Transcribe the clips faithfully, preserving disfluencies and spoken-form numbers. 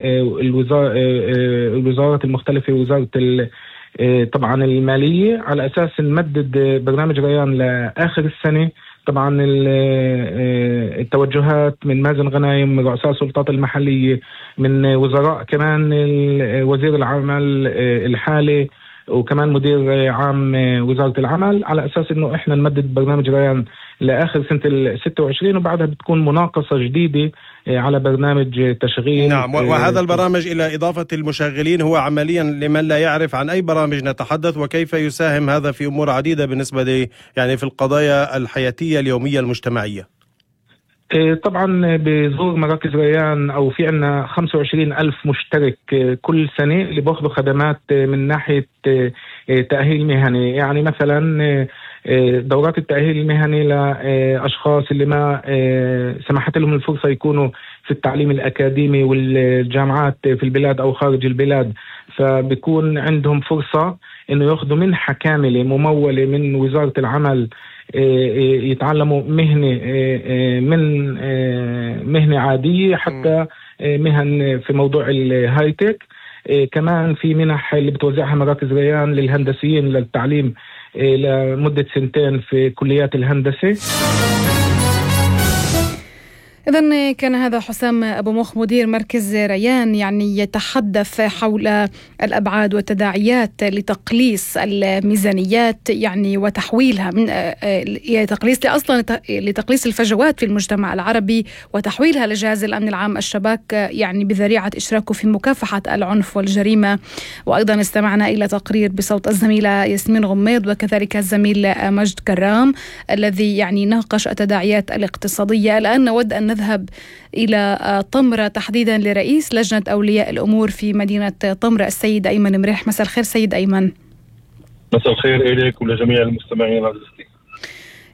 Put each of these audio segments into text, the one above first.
الوزارة الوزارات المختلفة، وزارة طبعا المالية، على أساس نمدد برنامج ريان لآخر السنة. طبعا التوجهات من مازن غنايم، من رؤساء السلطات المحلية، من وزراء كمان، وزير العمل الحالي وكمان مدير عام وزارة العمل، على أساس إنه إحنا نمدد برنامج ريان لآخر سنة الستة وعشرين، وبعدها بتكون مناقصة جديدة على برنامج تشغيل. نعم، وهذا البرامج إلى إضافة المشغلين هو عمليا لمن لا يعرف عن أي برامج نتحدث، وكيف يساهم هذا في أمور عديدة بالنسبة لي يعني في القضايا الحياتية اليومية المجتمعية. طبعا بزور مراكز ريان أو في عنا خمسة وعشرين ألف مشترك كل سنة اللي بأخذوا خدمات من ناحية تأهيل مهني. يعني مثلا دورات التأهيل المهني لأشخاص اللي ما سمحت لهم الفرصة يكونوا في التعليم الأكاديمي والجامعات في البلاد أو خارج البلاد، فبيكون عندهم فرصة إنه يأخذوا منحة كاملة ممولة من وزارة العمل، يتعلموا مهنة من مهنة عادية حتى مهن في موضوع الهايتك. كمان في منح اللي بتوزعها مراكز ريان للهندسيين للتعليم لمدة سنتين في كليات الهندسة. إذن كان هذا حسام أبو مخ مدير مركز ريان يعني يتحدث حول الأبعاد والتداعيات لتقليص الميزانيات يعني وتحويلها من تقليص أصلا لتقليص الفجوات في المجتمع العربي وتحويلها لجهاز الأمن العام الشباك يعني بذريعة إشراكه في مكافحة العنف والجريمة. وأيضا استمعنا إلى تقرير بصوت الزميلة ياسمين غميض وكذلك الزميل مجد كرام الذي يعني ناقش التداعيات الاقتصادية. الآن نود أن نذهب إلى طمرة تحديدا لرئيس لجنة أولياء الأمور في مدينة طمرة السيد أيمن مريح. مساء الخير سيد أيمن. مساء الخير إليك ولجميع المستمعين عزيزتي.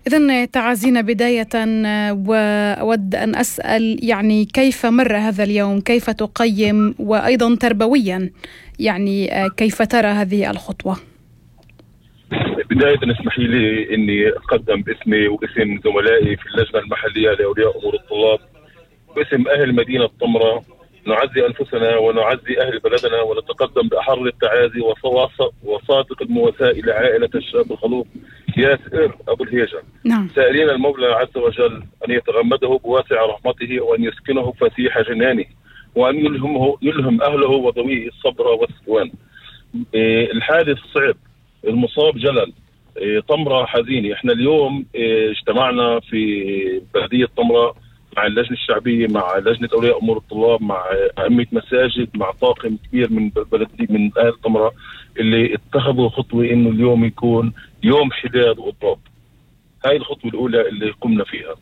إذن تعازينا بداية، وأود أن أسأل يعني كيف مر هذا اليوم، كيف تقيم، وأيضا تربويا يعني كيف ترى هذه الخطوة؟ بداية اسمحي لي أني أقدم باسمي واسم زملائي في اللجنة المحلية لأولياء أمور الطلاب واسم أهل مدينة طمرة نعزي أنفسنا ونعزي أهل بلدنا ونتقدم بأحر التعازي وصادق المواساة إلى عائلة الشاب الخلوق ياسر أبو الهيجة. نعم. سائلين المولى عز وجل أن يتغمده بواسع رحمته وأن يسكنه فسيح جنانه وأن يلهمه يلهم أهله وذويه الصبر والسكوان. الحادث صعب، المصاب جلل، طمرة حزينة. احنا اليوم اجتمعنا في بلدية طمرة مع اللجنة الشعبية، مع لجنة أولياء أمور الطلاب، مع أئمة مساجد، مع طاقم كبير من بلدية من أهل طمرة اللي اتخذوا خطوة إنه اليوم يكون يوم حداد وإضراب. هاي الخطوة الأولى اللي قمنا فيها.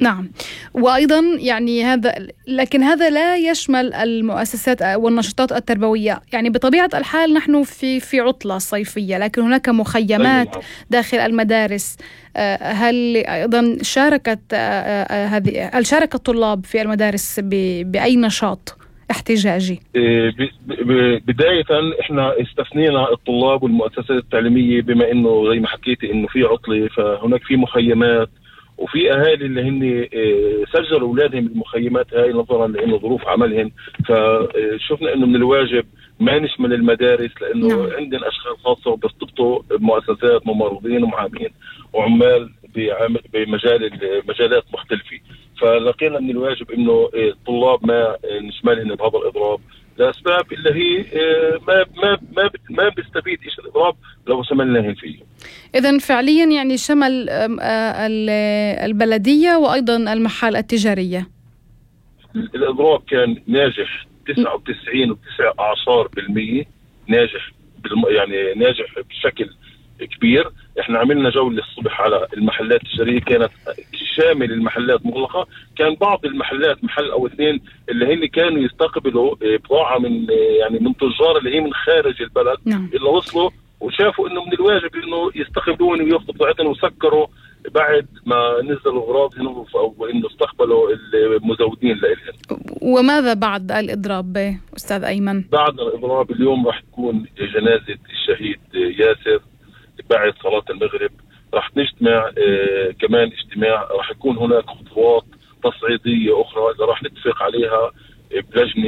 نعم، وأيضا يعني هذا لكن هذا لا يشمل المؤسسات والنشاطات التربوية. يعني بطبيعة الحال نحن في في عطلة صيفية، لكن هناك مخيمات داخل المدارس. هل أيضا شاركت هذه هل شارك الطلاب في المدارس بأي نشاط احتجاجي؟ بداية احنا استثنينا الطلاب والمؤسسات التعليمية بما انه زي ما حكيتي انه في عطلة، فهناك في مخيمات وفي اهالي اللي هن سجلوا اولادهم بالمخيمات هاي نظرا لانه ظروف عملهم. فشفنا انه من الواجب ما نشمل المدارس لانه نعم. عندنا اشخاص خاصه بيرتبطوا بمؤسسات، ممرضين ومعاملين وعمال بمجال مجالات مختلفه. فلقينا من الواجب انه الطلاب ما نشملهم بهذا الاضراب لاسباب اللي هي ما ما ما ما بيستفيد ايش الاضراب لو شملناهم فيه. إذن فعليا يعني شمل البلدية وأيضا المحال التجارية. الإضراب كان ناجح تسعة وتسعين وتسعة أعصار بالمية، ناجح يعني ناجح بشكل كبير. احنا عملنا جولة الصبح على المحلات التجارية، كانت شامل المحلات مغلقة. كان بعض المحلات محل او اثنين اللي هن كانوا يستقبلوا بضاعة من يعني من تجار اللي هي من خارج البلد نعم. اللي وصلوا وشافوا انه من الواجب انه يستقبلون وياخذوا بضاعتهم وسكروا بعد ما نزلوا اغراضهم او انه استقبلوا المزودين لهم. وماذا بعد الاضراب استاذ ايمن؟ بعد الاضراب اليوم راح تكون جنازة الشهيد ياسر بعد صلاة المغرب. راح نجتمع آه كمان اجتماع، راح يكون هناك خطوات تصعيدية أخرى اللي راح نتفق عليها بلجنه